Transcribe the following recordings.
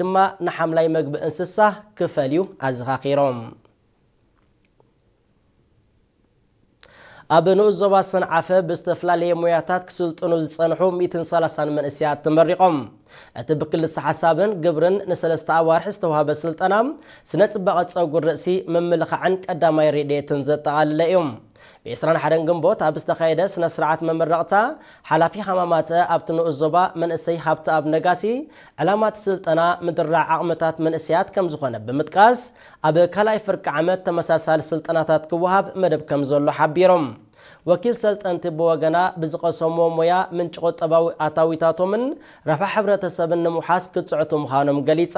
ድማ ንሓምላይ መግቢ እንስሳ ክፈልዩ ኣዘኻኺሮም። ኣብ ንኡስ ዞባ ሰንዓፈ ብዝተፈላለየ ሞያታት ክስልጥኑ ዝጸንሑ ሚእትን ሰላሳን መንእሰያት ተመሪቖም። እቲ ብክልሰ ሓሳብን ግብርን ንሰለስተ ኣዋርሕ ዝተዋህበ ስልጠና፣ ስነ ጽባቐ ጸጉሪ ርእሲ፣ ምምልኻዕን ቀዳማይ ረድኤትን ዘጠቓለለ እዩ። ብ ዕስራን ሓደን ግንቦት ኣብ ዝተኻየደ ስነ ስርዓት መመረቕታ፣ ሓላፊ ሃማማተ ኣብቲ ንኡስ ዞባ መንእሰይ ሃብተኣብ ነጋሲ፣ ዕላማ እቲ ስልጠና ምድራዕ ዓቕምታት መንእሰያት ከም ዝኾነ ብምጥቃስ፣ ኣብ ካልኣይ ፍርቂ ዓመት ተመሳሳሊ ስልጠናታት ክወሃብ መደብ ከም ዘሎ ሓቢሮም። ወኪል ሰልጠንቲ ብወገና፣ ብዝቐሰምዎ ሞያ ምንጪ ቁጠባዊ ኣታዊታቶምን ረብሓ ሕብረተሰብን ንምውሓስ ክጽዕቱ ምዃኖም ገሊጻ።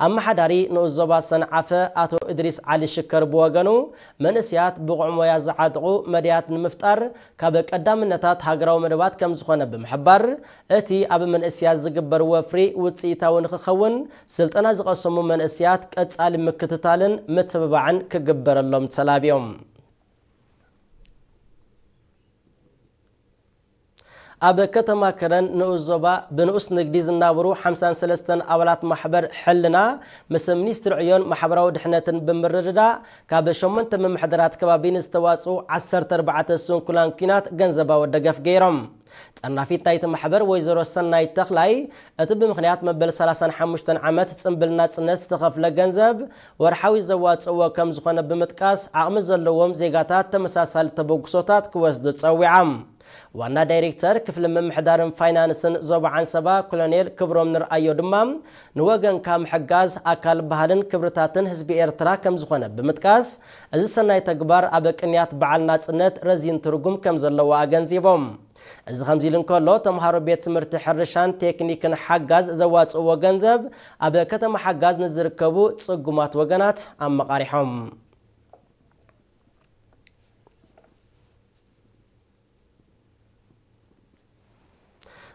ኣመሓዳሪ ንኡስ ዞባ ሰንዓፈ ኣቶ እድሪስ ዓሊ ሽከር ብወገኑ፣ መንእሰያት ብቑዕ ሞያ ዝዓጥቑ መድያት ንምፍጣር ካብ ቀዳምነታት ሃገራዊ መደባት ከም ዝኾነ ብምሕባር፣ እቲ ኣብ መንእሰያት ዝግበር ወፍሪ ውጽኢታዊ ንክኸውን፣ ስልጠና ዝቐሰሙ መንእሰያት ቀጻሊ ምክትታልን ምትብባዕን ክግበረሎም ተላብዮም። ኣብ ከተማ ከረን ንኡስ ዞባ ብንኡስ ንግዲ ዝናብሩ ሓምሳን ሰለስተን ኣባላት ማሕበር ሕልና፣ ምስ ሚኒስትሪ ዕዮን ማሕበራዊ ድሕነትን ብምርድዳእ፣ ካብ ሸሞንተ ምምሕዳራት ከባቢ ንዝተዋጽኡ ዓሰርተ ኣርባዕተ ስንኩላን ኲናት ገንዘባዊ ደገፍ ገይሮም። ጠርናፊት ናይቲ ማሕበር ወይዘሮ ሰናይት ተኽላይ፣ እቲ ብምኽንያት መበል ሰላሳን ሓሙሽተን ዓመት ጽምብል ናጽነት ዝተኸፍለ ገንዘብ ወርሓዊ ዘዋጽእዎ ከም ዝኾነ ብምጥቃስ፣ ዓቕሚ ዘለዎም ዜጋታት ተመሳሳሊ ተበግሶታት ክወስዱ ጸዊዖም። ዋና ዳይሬክተር ክፍሊ ምምሕዳርን ፋይናንስን ዞባ ዓንሰባ ኮሎኔል ክብሮም ንርኣዮ ድማ፣ ንወገንካ ምሕጋዝ ኣካል ባህልን ክብርታትን ህዝቢ ኤርትራ ከም ዝኾነ ብምጥቃስ፣ እዚ ሰናይ ተግባር ኣብ ቅንያት በዓል ናጽነት ረዚን ትርጉም ከም ዘለዎ ኣገንዚቦም። እዚ ከምዚ ኢሉ እንከሎ፣ ተምሃሮ ቤት ትምህርቲ ሕርሻን ቴክኒክን ሓጋዝ ዘዋጽእዎ ገንዘብ ኣብ ከተማ ሓጋዝ ንዝርከቡ ጽጉማት ወገናት ኣመቓሪሖም።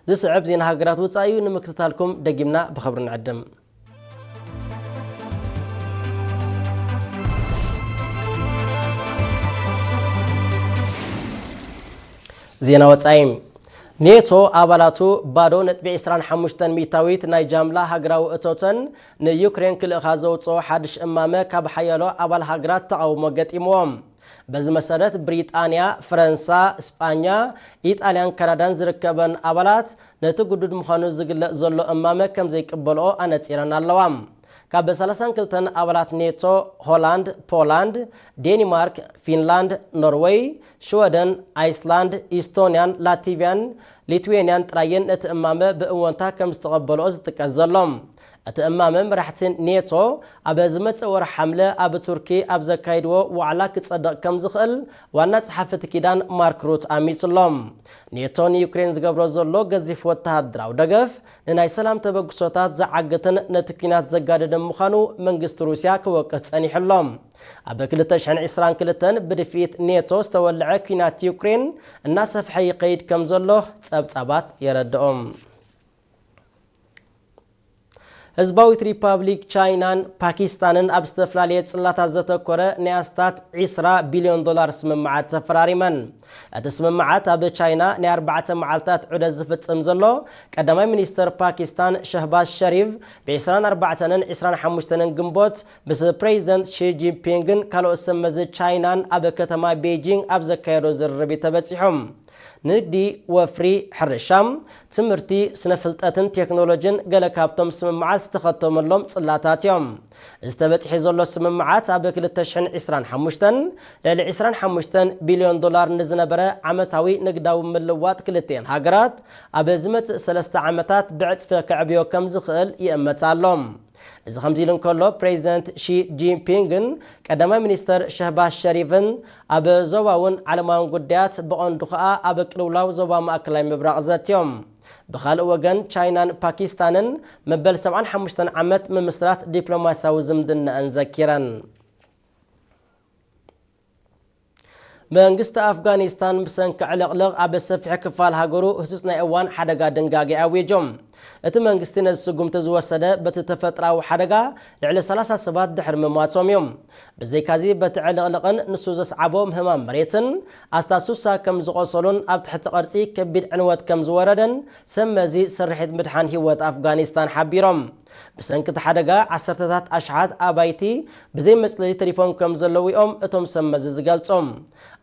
ዝስዕብ ዜና ሃገራት ወጻኢ እዩ። ንምክትታልኩም ደጊምና ብኽብሪ ንዕድም። ዜና ወጻኢ። ኔቶ ኣባላቱ ባዶ ነጥቢ ዕስራን ሓሙሽተን ሚእታዊት ናይ ጃምላ ሃገራዊ እቶተን ንዩክሬን ክልእኻ ዘውጽኦ ሓድሽ እማመ ካብ ሓያሎ ኣባል ሃገራት ተቓውሞ ገጢምዎም። በዚ መሰረት ብሪጣንያ፣ ፈረንሳ፣ ስጳኛ፣ ኢጣልያን ካናዳን ዝርከበን ኣባላት ነቲ ግዱድ ምዃኑ ዝግለጽ ዘሎ እማመ ከም ዘይቅበልኦ ኣነጺረን ኣለዋ። ካብ ሰላሳን ክልተን ኣባላት ኔቶ፣ ሆላንድ፣ ፖላንድ፣ ዴንማርክ፣ ፊንላንድ፣ ኖርወይ፣ ሽወደን፣ ኣይስላንድ፣ ኢስቶንያን ላቲቪያን ሊትዌንያን ጥራየን ነቲ እማመ ብእወንታ ከም ዝተቐበልኦ ዝጥቀስ ዘሎ። እቲ እማመ መራሕቲ ኔቶ ኣብ ዝመጽእ ወርሒ ሓምለ ኣብ ቱርኪ ኣብ ዘካይድዎ ዋዕላ ክጸድቕ ከም ዝኽእል ዋና ጸሓፊ እቲ ኪዳን ማርክ ሩት ኣሚጹ ኣሎ። ኔቶ ንዩክሬን ዝገብሮ ዘሎ ገዚፍ ወተሃደራዊ ደገፍ ንናይ ሰላም ተበግሶታት ዝዓግትን ነቲ ኲናት ዘጋደደን ምዃኑ መንግስቲ ሩስያ ክወቅስ ጸኒሑ ኣሎ። ኣብ ክልተ ሽሕን ዕስራን ክልተን ብድፍኢት ኔቶ ዝተወልዐ ኲናት ዩክሬን እናሰፍሐ ይኸይድ ከም ዘሎ ጸብጻባት የረድኦም። ህዝባዊት ሪፓብሊክ ቻይናን ፓኪስታንን ኣብ ዝተፈላለየ ጽላታት ዘተኮረ ናይ ኣስታት ዕስራ ቢልዮን ዶላር ስምምዓት ተፈራሪመን። እቲ ስምምዓት ኣብ ቻይና ናይ ኣርባዕተ መዓልታት ዑደት ዝፍጽም ዘሎ ቀዳማይ ሚኒስተር ፓኪስታን ሸህባዝ ሸሪፍ፣ ብ ዕስራን ኣርባዕተን ዕስራን ሓሙሽተን ግንቦት ምስ ፕሬዚደንት ሺ ጂንፒንግን ካልኦት ሰብ መዚ ቻይናን ኣብ ከተማ ቤጂንግ ኣብ ዘካየዶ ዝርርብ እዩ ተበጺሑ። ንግዲ፣ ወፍሪ፣ ሕርሻ፣ ትምህርቲ፣ ስነ ፍልጠትን ቴክኖሎጂን ገለ ካብቶም ስምምዓት ዝተኸተመሎም ጽላታት እዮም። ዝተበጽሐ ዘሎ ስምምዓት ኣብ ክልተ ሽሕን ዕስራን ሓሙሽተን ልዕሊ ዕስራን ሓሙሽተን ቢልዮን ዶላር ንዝነበረ ዓመታዊ ንግዳዊ ምልዋጥ ክልቲኤን ሃገራት ኣብ ዝመጽእ ሰለስተ ዓመታት ብዕጽፊ ከዕብዮ ከም ዝኽእል ይእመት ኣሎ። እዚ ከምዚ ኢሉ እንከሎ፣ ፕሬዚደንት ሺ ጂንፒንግን ቀዳማይ ሚኒስተር ሸህባዝ ሸሪፍን ኣብ ዞባውን ዓለማውን ጉዳያት፣ ብቐንዱ ኸኣ ኣብ ቅልውላው ዞባ ማእከላይ ምብራቕ ዘትዮም። ብኻልእ ወገን፣ ቻይናን ፓኪስታንን መበል ሰብዓን ሓሙሽተን ዓመት ምምስራት ዲፕሎማስያዊ ዝምድናኣን ዘኪረን። መንግስቲ ኣፍጋኒስታን ብሰንኪ ዕልቕልቕ ኣብ ሰፊሕ ክፋል ሃገሩ ህጹጽ ናይ እዋን ሓደጋ ድንጋጌ ኣዊጁ። እቲ መንግስቲ ነዚ ስጉምቲ ዝወሰደ በቲ ተፈጥራዊ ሓደጋ ልዕሊ ሰላሳ ሰባት ድሕሪ ምሟቶም እዩ። ብዘይካዚ በቲ ዕልቕልቕን ንሱ ዘስዓቦ ምህማም መሬትን ኣስታት ሱሳ ከም ዝቖሰሉን ኣብ ትሕቲ ቅርጺ ከቢድ ዕንወት ከም ዝወረደን ሰብ መዚ ስርሒት ምድሓን ህይወት ኣፍጋኒስታን ሓቢሮም። ብሰንኪ እቲ ሓደጋ ዓሰርተታት ኣሽሓት ኣባይቲ ብዘይ መጽለሊ ተሪፎም ከም ዘለዉ እዮም እቶም ሰብ መዚ ዝገልጹ።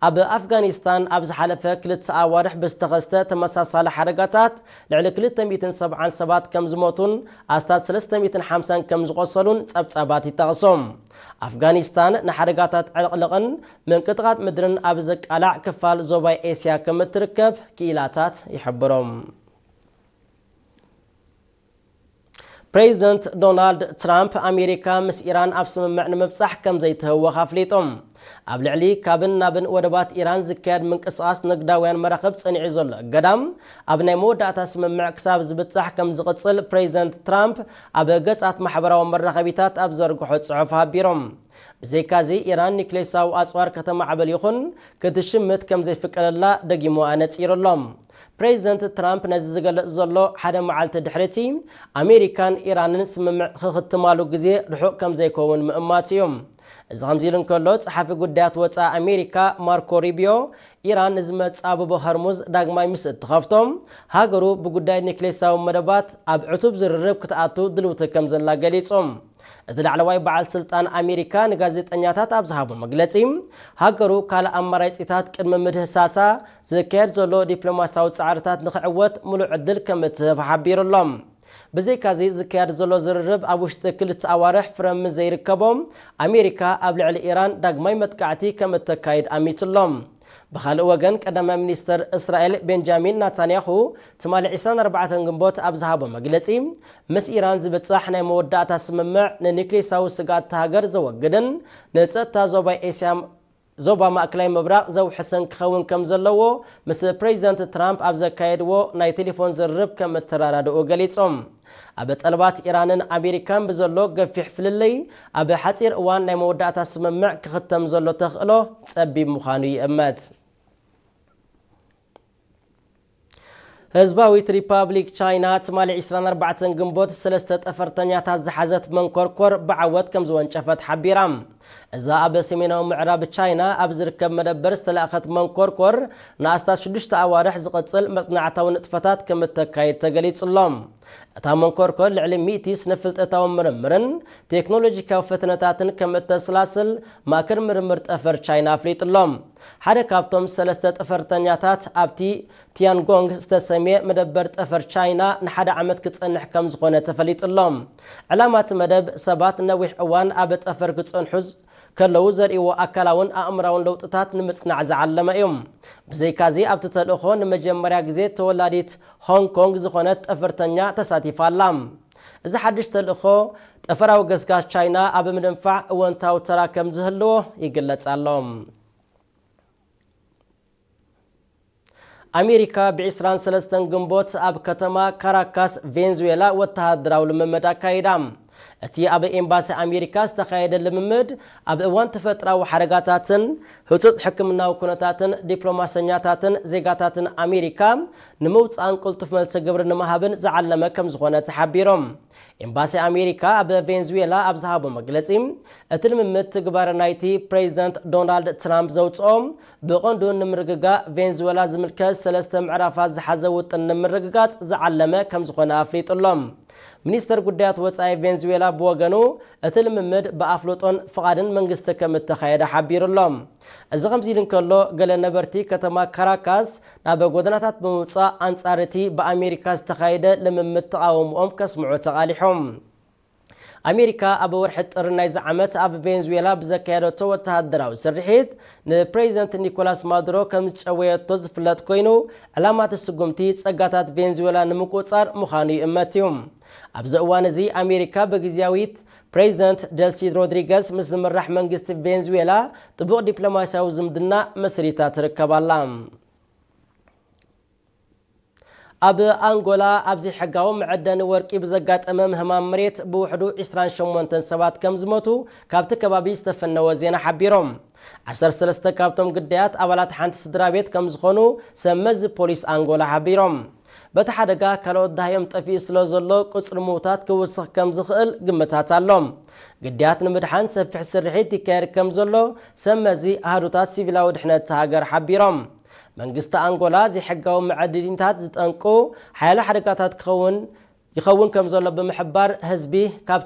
ኣብ ኣፍጋኒስታን ኣብ ዝሓለፈ ክልተ ኣዋርሕ ብዝተኸስተ ተመሳሳሊ ሓደጋታት ልዕሊ ክልተ ሚእትን ሰብዓን ሰባት ከም ዝሞቱን ኣስታት ሰለስተ ሚእትን ሓምሳን ከም ዝቖሰሉን ጸብጻባት ይጠቕሱ። ኣፍጋኒስታን ንሓደጋታት ዕልቕልቕን ምንቅጥቓጥ ምድርን ኣብ ዘቃላዕ ክፋል ዞባይ ኤስያ ከም እትርከብ ክኢላታት ይሕብሩ። ፕሬዚደንት ዶናልድ ትራምፕ ኣሜሪካ ምስ ኢራን ኣብ ስምምዕ ንምብጻሕ ከም ዘይትህወኽ ኣፍሊጡ። ኣብ ልዕሊ ካብን ናብን ወደባት ኢራን ዝካየድ ምንቅስቓስ ንግዳውያን መራኽብ ጸኒዑ ዘሎ እገዳ ኣብ ናይ መወዳእታ ስምምዕ ክሳብ ዝብጻሕ ከም ዝቕጽል ፕሬዚደንት ትራምፕ ኣብ ገጻት ማሕበራዊ መራኸቢታት ኣብ ዘርግሖ ጽሑፍ ሓቢሮም። ብዘይካዚ ኢራን ኒክሌሳዊ ኣጽዋር ከተማዕብል ይኹን ክትሽምት ከም ዘይፍቀደላ ደጊሙ ኣነጺሩ ኣሎ። ፕሬዚደንት ትራምፕ ነዚ ዝገልጽ ዘሎ ሓደ መዓልቲ ድሕሪቲ ኣሜሪካን ኢራንን ስምምዕ ክኽትማሉ ግዜ ርሑቕ ከም ዘይከውን ምእማት እዩ። እዚ ከምዚ ኢሉ እንከሎ፣ ጸሓፊ ጉዳያት ወጻኢ ኣሜሪካ ማርኮ ሪቢዮ ኢራን ንዝመጽእ ኣበቦ ሆርሙዝ ዳግማይ ምስ እትኸፍቶ፣ ሃገሩ ብጉዳይ ኒክሌሳዊ መደባት ኣብ ዕቱብ ዝርርብ ክትኣቱ ድልውቲ ከም ዘላ ገሊጹ። እቲ ላዕለዋይ በዓል ስልጣን ኣሜሪካ ንጋዜጠኛታት ኣብ ዝሃቦ መግለጺ፣ ሃገሩ ካልእ ኣማራጺታት ቅድሚ ምህሳሳ ዝካየድ ዘሎ ዲፕሎማሲያዊ ጻዕርታት ንኽዕወት ምሉእ ዕድል ከም እትህብ ሓቢሩ ኣሎ። ብዘይካዚ ዝካየድ ዘሎ ዝርርብ ኣብ ውሽጢ ክልተ ኣዋርሕ ፍረ ምስ ዘይርከቦ፣ ኣሜሪካ ኣብ ልዕሊ ኢራን ዳግማይ መጥቃዕቲ ከም እተካይድ ኣሚቱ ኣሎ። ብኻልእ ወገን፣ ቀዳማይ ሚኒስተር እስራኤል ቤንጃሚን ናታንያሁ ትማሊ ዕስራን ኣርባዕተን ግንቦት ኣብ ዝሃቦ መግለጺ፣ ምስ ኢራን ዝብጻሕ ናይ መወዳእታ ስምምዕ ንኒክሌሳዊ ስግኣት እታ ሃገር ዘወግድን ንጸጥታ ዞባ ኤስያ፣ ዞባ ማእከላይ ምብራቕ ዘውሕስን ክኸውን ከም ዘለዎ ምስ ፕሬዚደንት ትራምፕ ኣብ ዘካየድዎ ናይ ቴሌፎን ዝርርብ ከም እተረዳድኡ ገሊጾም። ኣብ ጠለባት ኢራንን ኣሜሪካን ብዘሎ ገፊሕ ፍልልይ፣ ኣብ ሓጺር እዋን ናይ መወዳእታ ስምምዕ ክኽተም ዘሎ ተኽእሎ ጸቢብ ምዃኑ ይእመት። ህዝባዊት ሪፓብሊክ ቻይና ትማሊ ዕስራን ኣርባዕተን ግንቦት ሰለስተ ጠፈርተኛታት ዝሓዘት መንኮርኮር ብዓወት ከም ዝወንጨፈት ሓቢራ። እዛ ኣብ ሰሜናዊ ምዕራብ ቻይና ኣብ ዝርከብ መደበር ዝተላእኸት መንኮርኮር ንኣስታት ሽዱሽተ ኣዋርሕ ዝቕጽል መጽናዕታዊ ንጥፈታት ከም እተካይድ ተገሊጹ ኣሎ። እታ መንኮርኮር ልዕሊ ሚእቲ ስነ-ፍልጠታዊ ምርምርን ቴክኖሎጂካዊ ፈተነታትን ከም እተስላስል ማእከል ምርምር ጠፈር ቻይና ኣፍሊጡ ኣሎ። ሓደ ካብቶም ሰለስተ ጠፈርተኛታት ኣብቲ ቲያንጎንግ ዝተሰምየ መደበር ጠፈር ቻይና ንሓደ ዓመት ክጸንሕ ከም ዝኾነ ተፈሊጡ ኣሎ። ዕላማ እቲ መደብ ሰባት ነዊሕ እዋን ኣብ ጠፈር ክጸንሑ ዝ-፣ ከለዉ ዘርእይዎ ኣካላውን ኣእምራውን ለውጥታት ንምጽናዕ ዝዓለመ እዩ። ብዘይካዚ ኣብቲ ተልእኾ ንመጀመርያ ግዜ ተወላዲት ሆንግ ኮንግ ዝኾነት ጠፈርተኛ ተሳቲፋ ኣላ። እዚ ሓድሽ ተልእኾ ጠፈራዊ ገስጋስ ቻይና ኣብ ምድንፋዕ እወንታዊ ተራ ከም ዝህልዎ ይግለጽ ኣሎ። ኣሜሪካ ብዕስራን ሰለስተን ግንቦት ኣብ ከተማ ካራካስ ቬንዙዌላ ወተሃደራዊ ልምምድ ኣካይዳ። እቲ ኣብ ኤምባሲ ኣሜሪካ ዝተኻየደ ልምምድ ኣብ እዋን ተፈጥራዊ ሓደጋታትን ህጹጽ ሕክምናዊ ኩነታትን ዲፕሎማሰኛታትን ዜጋታትን ኣሜሪካ ንምውጻእን ቅልጡፍ መልሲ ግብሪ ንምሃብን ዝዓለመ ከም ዝኾነ ተሓቢሮም። ኤምባሲ ኣሜሪካ ኣብ ቬንዙዌላ ኣብ ዝሃቦ መግለጺ፣ እቲ ልምምድ ትግባረ ናይቲ ፕሬዚደንት ዶናልድ ትራምፕ ዘውጽኦ ብቐንዱ ንምርግጋእ ቬንዙዌላ ዝምልከት ሰለስተ ምዕራፋት ዝሓዘ ውጥን ንምርግጋጽ ዝዓለመ ከም ዝኾነ ኣፍሊጡ ኣሎ። ሚኒስተር ጉዳያት ወጻኢ ቬንዙዌላ ብወገኑ፣ እቲ ልምምድ ብኣፍልጦን ፍቓድን መንግስቲ ከም እተኻየደ ሓቢሩ ኣሎ። እዚ ከምዚ ኢሉ እንከሎ፣ ገለ ነበርቲ ከተማ ካራካስ ናብ ጎደናታት ብምውጻእ ኣንጻር እቲ ብኣሜሪካ ዝተኻየደ ልምምድ ተቓውሞኦም ከስምዑ ተቓሊሖም። ኣሜሪካ ኣብ ወርሒ ጥሪ ናይዚ ዓመት ኣብ ቬንዙዌላ ብዘካየደቶ ወተሃደራዊ ስርሒት ንፕሬዚደንት ኒኮላስ ማዱሮ ከም ዝጨወየቶ ዝፍለጥ ኮይኑ፣ ዕላማ እቲ ስጉምቲ ጸጋታት ቬንዙዌላ ንምቁጽጻር ምዃኑ ይእመት እዩ። ኣብዚ እዋን እዚ ኣሜሪካ ብግዝያዊት ፕሬዚደንት ደልሲ ሮድሪገስ ምስ ዝምራሕ መንግስቲ ቬንዙዌላ ጥቡቕ ዲፕሎማስያዊ ዝምድና መስሪታ ትርከብ ኣላ። ኣብ ኣንጎላ ኣብ ዘይሕጋዊ መዐደኒ ወርቂ ብዘጋጠመ ምህማም መሬት ብውሕዱ ዕስራን ሸሞንተን ሰባት ከም ዝሞቱ ካብቲ ከባቢ ዝተፈነወ ዜና ሓቢሮም። ዓሰርተ ሰለስተ ካብቶም ግዳያት ኣባላት ሓንቲ ስድራ ቤት ከም ዝኾኑ ሰብ መዚ ፖሊስ ኣንጎላ ሓቢሮም። በቲ ሓደጋ ካልኦት ደሃዮም ጠፊኡ ስለ ዘሎ ቁጽሪ ምዉታት ክውስኽ ከም ዝኽእል ግምታት ኣሎ። ግዳያት ንምድሓን ሰፊሕ ስርሒት ይካየድ ከም ዘሎ ሰብ መዚ ኣሃዱታት ሲቪላዊ ድሕነት እታ ሃገር ሓቢሮም። መንግስቲ ኣንጎላ ዘይሕጋዊ መዐድኒታት ዝጠንቁ ሓያሎ ሓደጋታት ክኸውን ይኸውን ከም ዘሎ ብምሕባር፣ ህዝቢ ካብ